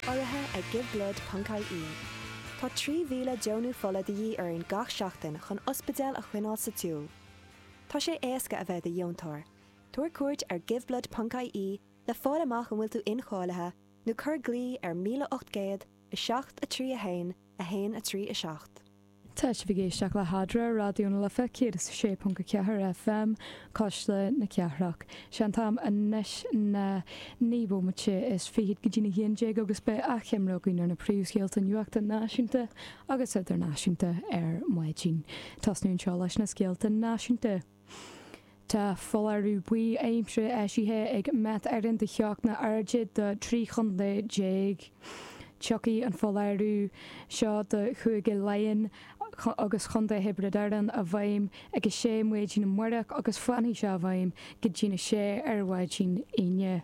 Urraithe ag Giveblood.ie. Tá 3,000 deonú fola de dhíth orainn gach seachtain chun ospidéil a choinneáil sa tsiúl. Tá sé éasca a bheith i do dheontóir. Tabhair cuairt ar Giveblood.ie le fáil amach an bhfuil tú incháilithe nó cuir glao ar 1800 7 3 1 1 3 7. Tá sibh ag éisteacht le hAdhmhaidin ar Raidió na Life 106.4 FM, Cuisle na Cathrach. Sé an t-am anois ná 9 bomaite is fichead go dtí'n 11 agus beidh achoimre againn ar na príomhscéalta nuachta náisiúnta agus idirnáisiúnta ar maidin. Tosnú anseo leis na scéalta náisiúnta. Tá foláireamh buí aimsire eisithe ag Met Éireann do theochtaí arda do 13 chontae. Tiocfaidh an foláireamh seo do Chúige Laighean agus Chontae Thiobraid Árann i bhfeidhm ag 6 maidin amárach agus fanfaidh sé i bhfeidhm go dtí'n 6 ar mhaidin Aoine.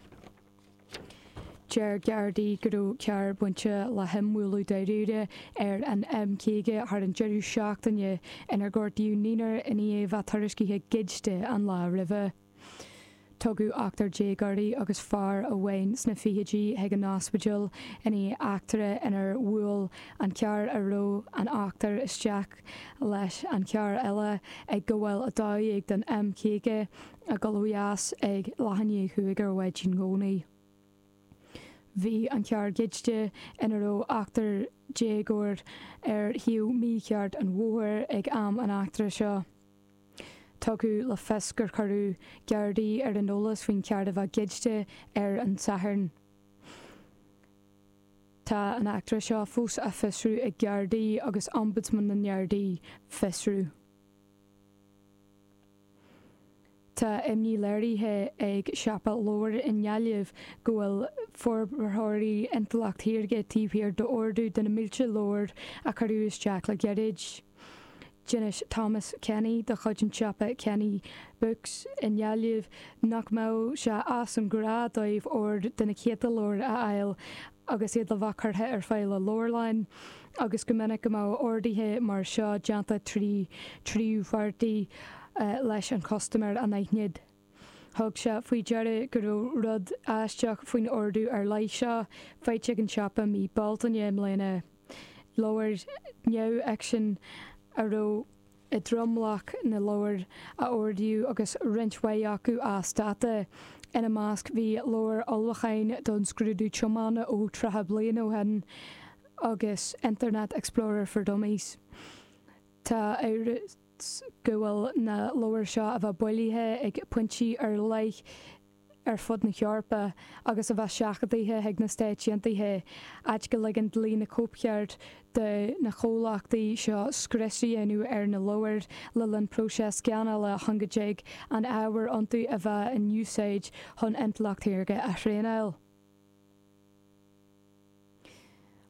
Deir Gardaí go raibh carr bainte le himbhualadh dáiríre ar an M50 thar an deireadh seachtaine inar gortaíodh naonúr i ndiaidh a bheith tuairiscithe goidte an lá roimhe. Tugadh ochtar déagóirí agus fear amháin sna fichidí chuig an ospidéal i ndiaidh eachtra inar bhuail an carr a raibh an ochtar isteach leis an charr eile ag gabháil 12 den M50 ag dul ó dheas ag leath i ndiaidh chúig ar mhaidin Dhomhnaigh. Bhí an carr goidte, ina raibh ochtar déagóir, ar thaobh mícheart an bhóthair ag am an eachtra seo. Tugadh le fios gur cuireadh Gardaí ar an eolas faoin charr a bheith goidte ar an Satharn. Tá an eachtra seo fós á fiosrú ag Gardaí agus Ombudsman na nGardaí fiosrú. Tá imní léirithe ag siopa leabhar i nGaillimh go bhfuil forbarthóirí intleacht shaorga taobh thiar d'ordú de na mílte leabhar a cuireadh isteach le gairid. D'inis Thomas Kenny de chuid an tsiopa Kenny Books i nGaillimh nach mbeadh sé as an ghnáth dóibh ord de na céadta leabhar a fháil agus iad le bheith curtha ar fáil i leabharlann agus go minic go mbeadh orduithe mar seo déanta trí tríú pháirtí leis an chustaiméir anaithnid. Thug sé faoi deara go raibh rud aisteach faoin ordú ar leith seo, faighte ag an siopa mí Bealtaine i mbliana. Leabhair neamhfhicsin a raibh i dtromlach na leabhar a ordaíodh agus roinnt mhaith acu as dáta. Ina measc bhí leabhar ullmhúcháin don scrúdú tiomána ó 30 bliain ó shin agus Internet Explorer for Dummies. Tá amhras go bhfuil na leabhair seo a bheith bailithe ag pointí ar leith ar fud na hEorpa agus a bheith seachadaithe chuig na Stáit Aontaithe, áit go ligeann dlí na cóipcheart do na comhlachtaí seo scrios a dhéanamh ar na leabhair le linn próiseas scannála chun go dtig an ábhar iontu a bheith in úsáid chun intleacht shaorga a thraenáil.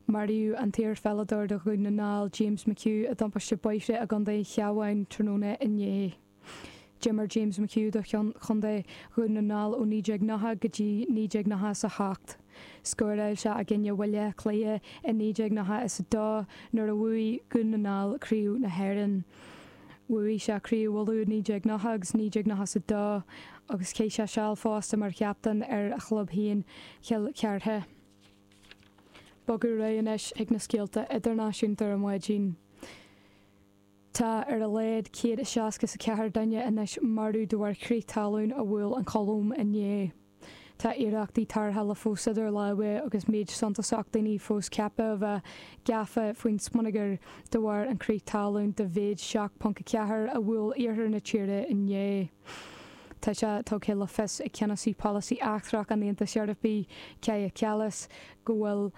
Maraíodh an t-iarpheileadóir do Dhún na nGall, James McHugh, i dtubaiste bóithre i gContae an Chabháin tráthnóna inné. D'imir James McHugh do Chontae Dhún na nGall ó 1990 go dtí 1998. Scóráil sé i gcoinne Bhaile Átha Cliath i 1992 nuair a bhuaigh Dún na nGall Craobh na hÉireann. Bhuaigh sé Craobh Uladh i 1990 agus 1992 agus chaith sé seal fosta mar chaptaen ar a chlub féin, Cill Chartha. Bogadh ar aghaidh anois chuig na scéalta idirnáisiúnta ar maidin. Tá ar a laghad 164 duine anois marbh de bharr crith talún a bhuail an Cholóim inné. Tá iarrachtaí tarrthála fós idir lámha agus méid suntasach daoine fós ceaptha a bheith gafa faoin smionagar de bharr an crith talún de mhéid 7.4 a bhuail iarthar na tíre inné. Tá sé tugtha le fios ag Ceannasaí Polasaí Eachtrach an Aontais Eorpaigh, Kaja Kallas, go bhfuil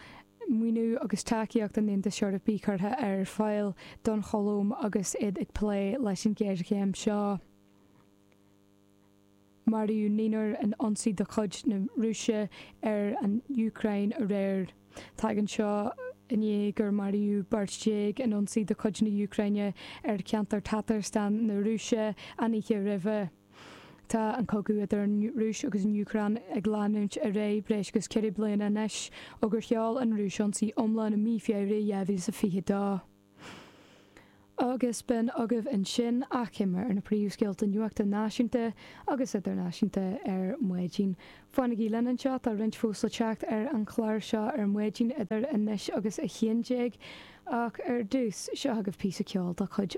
maoiniú agus tacaíocht an Aontais Eorpaigh curtha ar fáil don Cholóim agus iad ag plé leis an ghéarchéim seo. Maraíodh naonúr in ionsaí de chuid na Rúise ar an Úcráin aréir. Tagann seo i ndiaidh gur maraíodh beirt in ionsaí de chuid na hÚcráine ar cheantar Tatarstan na Rúise an oíche roimhe. Tá an cogadh idir an Rúis agus an Úcráin ag leanúint ar aghaidh breis agus 4 bliana anois ó gur sheol an Rúis ionsaí iomlán i mí Feabhra 2022. Agus b'in agaibh ansin achoimre ar na príomhscéalta nuachta náisiúnta agus idirnáisiúnta ar maidin. Fanaigí linn anseo, tá roinnt fós le teacht ar an chlár seo ar maidin idir anois agus 11 ach ar dtús, seo agaibh píosa ceoil de chuid.